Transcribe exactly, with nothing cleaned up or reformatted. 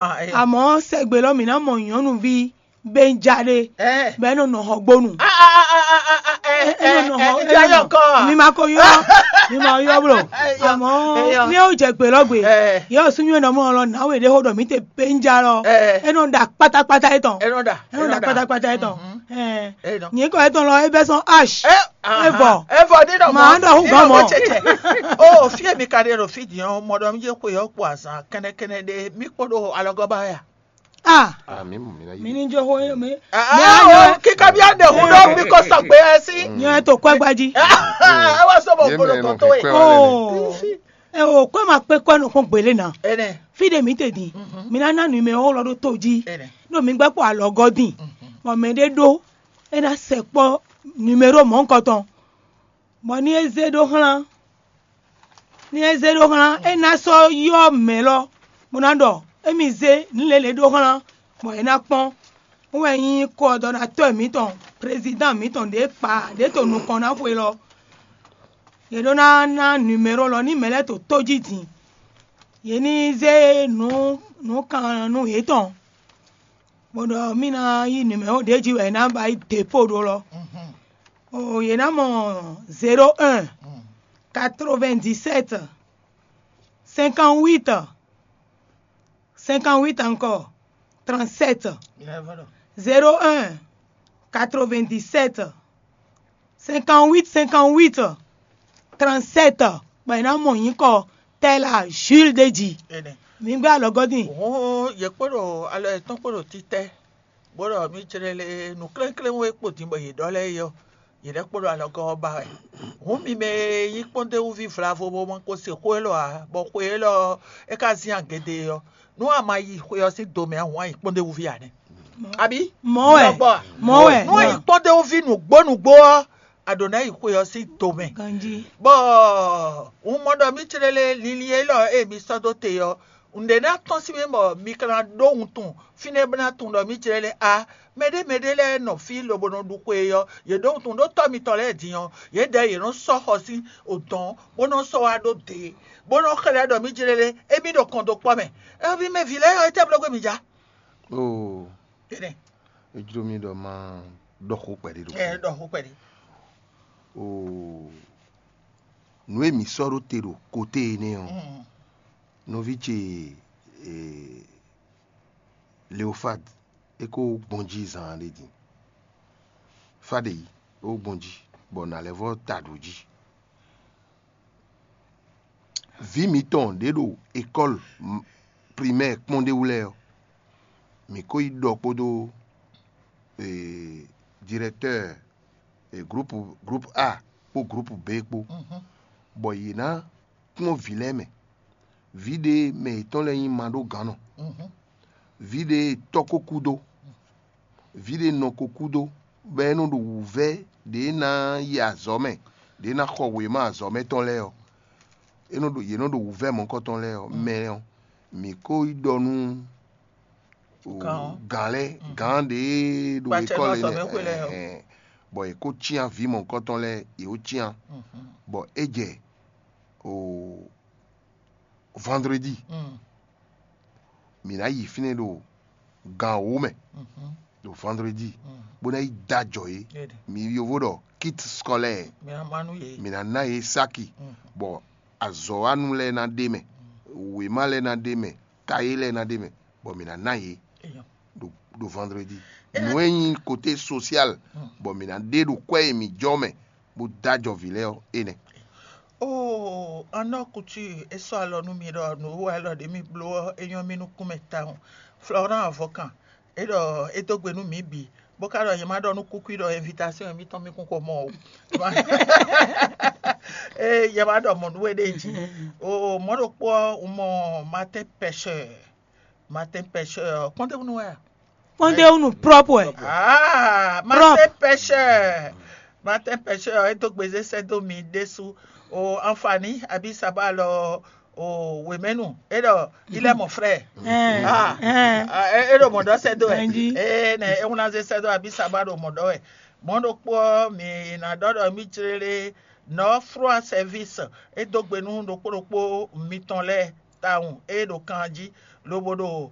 Amɔ̌ sɛgbe lɔ mǐ ná mɔ nyɔ̌nuví Benja ɖé bɔ é nɔ nɔ xɔgbónu. É nɔ nɔ xɔ Ìjà yɔ kɔ. Mi ma ko ylɔ́, mi ma ylɔ́ bló. Amɔ̌ ní é wú jɛ gbe lɔ gbe, yɛ ɔ súnnu e nɔ mɔ lɔ nǎwe ɖé xó ɖɔ mǐ te Benja lɔ, é nɔ ɖa kpátákpátá étɔn. É nɔ ɖa. É nɔ ɖa kpátákpátá étɔn. Nyǐkɔ étɔn lɔ é bɛ́ sɔ́n H. Evɔ. Evɔ ní nɔ Màá ɖɔ hú gɔ́ mɔ. Ó fí èmi ka ɖe ɖo fí din ɔ́, mɔ ɖɔ mí jẹ́ xwe ɔ́ kpo azǎn kɛnɛkɛnɛ ɖé mí kpódó alɔgɔ́ ba wɛ a? Ah, Ah, mi mú mi ná mi yí. ní jó xó mi. Kíkà bí àdé hu ɖɔ mi kɔ sɔgbe ɛ sí. Nyɛ to kɔ gbaji. Ẹ wá sọ bɔ Yé gbolo mɛ kɔ nɔ tó fɛ wɛ. kɔ ɛnɛ. Oh. Ẹ o kɔ ma kpé kɔ nɔ kpɔn gbélé na. Ẹnɛ. Fi ɖe mi te din. Mi ná ná numéro lɔ ɖó tó jí. Ẹnɛ. Ɖo mi gbɛ kpɔ alɔgɔ din. Mɔ mɛ ɖé ɖó. E ná sɛ kpɔ numéro mɔ̌ kɔtɔn. Bɔ ní é zé ɖó xlán. Ní é zé ɖó xlán, é ná sɔ́ ylɔ́ mɛ lɔ, bó ná ɖɔ émí zé nǔ lě lě ɖó xlán, bɔ é ná kpɔ́n. Wɛn nyí kɔdɔnatɔ́ mǐtɔn, prezidán mǐtɔn ɖě kpa ɖě to nukɔn ná xwe lɔ. Yě ɖó ná ná numéro lɔ ní mɛ lɛ́ɛ to tó jí din. Yě ní zé nǔ nǔ kan nú yětɔn. Bó ɖɔ mí ná yí numéro ɖě jí wɛ é ná ba yi dépôt ɖó lɔ. Oh, yě ná mɔ zéro un, quatre-vingt-dix-sept, cinquante-huit, cinquante-huit encore, trente-sept, zéro un, quatre-vingt-dix-sept, cinquante-huit, cinquante-huit, trente-sept, bɔ è nǎ mɔ nyǐkɔ Tɛla Jules ɖé jí. Mi gbé alɔgɔ́ din. Hǔn yě kpo ɖo alɔ yětɔn kpo ɖo títɛ́, bó ɖɔ mí jlɛ́ lé nǔklénklénwó e kpo din bɔ yě ɖɔ lɛ́ɛ é ɔ́, yě lɛ́ kpo ɖo alɔgɔ́ ɔ́ ba wɛ. Hǔn mi mɛ e nyí kpɔ́ndéwúví vlavo bó ma ko se xó élɔ́ ǎ, bɔ xwe élɔ́ ɔ́, é ka zin agědé ɔ́, nú a ma yi xwe ɔ́ sín do mɛ ǎ, hǔn a nyǐ kpɔ́ndéwúví ǎ nɛ́. Abǐ? Mɔ̌ wɛ. Lɔbɔ ǎ. Mɔ̌ wɛ. Nú a nyǐ kpɔ́ndéwúví nǔgbó nǔgbó ɔ́, a ɖǒ ná yi xwe ɔ́ sín do mɛ. Ganjí. Bɔ un mɔ ɖɔ mí clé lé linlin élɔ́ e mi sɔ́ dó te ɔ́, nǔɖé ná tɔ́n sín mɛ bɔ mi ka ná ɖó wuntun fínɛ́ bó ná tunwun ɖɔ mí clé lé a mɛɖé mɛɖé lɛ́ɛ nɔ fí lobo nɔ ɖu xwe ɔ́, yě ɖó wuntun ɖó tɔ́ mitɔn lɛ́ɛ din ɔ́, yědɛɛ yě nɔ sɔ́ xɔ sín odɔn bó nɔ sɔ́ wá ɖó dě, bó nɔ xlɛ́ ɖɔ mí clé lé émí ɖo kɔn dó kpɔ́ mɛ. Ɛ́ ví mɛ vǐ lɛ́ɛ ɔ́, étɛ́ bló gbé mi ja? Oo, Énɛ́, é jló mí ɖɔ má ɖɔ xó kpɛɖé ɖo ɛ ɖɔ xó kpɛɖé. Oo, nǔ e mǐ sɔ́ ɖó te ɖo koté énɛ́ ɔ́, nɔví ce eh, Leofad é kó gbɔn jí zan ɖé din. Fá ɖe yi é kó gbɔn jí bɔ nǎ lɛ́ vɔ́ ta ɖǒ jí. Vǐ mǐtɔn ɖě ɖo école primɛ́ɛ kpɔ́n ɖé wú lɛ́ɛ ɔ́, mǐ ko yi ɖɔ kpódó eh, directeur eh, groupe, groupe A kpó groupe B kpó, bɔ yě ná kplɔ́n vǐ lɛ́ɛ mɛ. Vǐ ɖé mɛ yětɔn lɛ́ɛ nyí maɖógǎnnɔ. Vǐ ɖé tɔ́ ko kú dó. Vǐ ɖé nɔ ko kú dó, bɔ é nɔ ɖo wǔvɛ́ ɖě ná yi azɔ̌ mɛ, ɖě ná xɔ wěma azɔ̌ mɛ tɔn lɛ́ɛ ɔ́, é nɔ ɖo yě nɔ ɖo wǔvɛ́ mɔ̌kɔtɔn lɛ́ɛ ɔ́ mɛ ɔ́, mǐ ko yi ɖɔ nú o, Gǎn ɔ́. Gǎn lɛ́ɛ gǎn ɖě ɖo Kpacɛ école nɔ azɔ̌ mɛ énɛ́, xwe lɛ́ɛ ɔ́. Ɛhɛn. Bɔ è kó cyán vǐ mɔ̌kɔtɔn lɛ́ɛ yě wó cyán, bɔ é jɛ o, vendredi mǐ ná yi fínɛ́ ɖo gan wǒ mɛ ɖo vendredi, bó ná yi dó ajɔ yě. Éɖe. Mǐ yovo ɖɔ kit scolaire, Mi ná má nú yě. mǐ ná ná yě sáki, bɔ azɔ̌wánu lɛ́ɛ ná ɖe mɛ, wěma lɛ́ɛ ná ɖe mɛ, kayé lɛ́ɛ ná ɖe mɛ, bɔ mǐ ná ná yě Eyɔn. ɖo ɖo vendredi. Nǔ e nyí côté social, bɔ mǐ ná ɖe ɖo kwɛ́ e mǐ jɔ mɛ bó dó ajɔ vǐ lɛ́ɛ ɔ́, énɛ́. Oo, anɔ kutu e sɔ́ alɔ nú mi ɖɔ nǔ wɛ lɔ ɖě mi bló ɔ́, é nyɔ́ mì nukún mɛ tawun. Florent Avɔkan, é ɖɔ é dó gbe nú mǐ bǐ, bó ka ɖɔ nyɛ má ɖɔ nú kúkú ɖɔ invitation émítɔn mi kún xo mɔ o. Ée nyɛ má ɖɔ mɔ̌ nú we ɖée jí. Oo, mɔ̌ ɖokpó ɔ́, un mɔ Martin Pêcheur. Martin Pêcheur ɔ́, kpɔ́ndéwúnú wɛ a? Kpɔ́ndéwúnú prɔ́pwɛ. Ah, Martin Pêcheur. Martin Pêcheur, é dó gbezé sɛ́ dó mi ɖésú. O Anfani, abí Saba lɔ, o Wemɛnu, é ɖɔ, il est mon frère. Ɛn, Ah, ɛn. ah, é é ɖo mɔ̌ ɖɔ sɛ́ dó wɛ. Ganjí. Ée nɛ é wún ná zé sɛ́ dó abí Saba ɖo mɔ̌ ɖɔ wɛ. Mɔ̌ ɖokpó ɔ́, mi ná ɖɔ ɖɔ mí jlélé nɔ́ fró service é dó gbe nú ɖokpó ɖokpó mitɔn lɛ́ɛ tawun é ɖo kan jí, lobo ɖo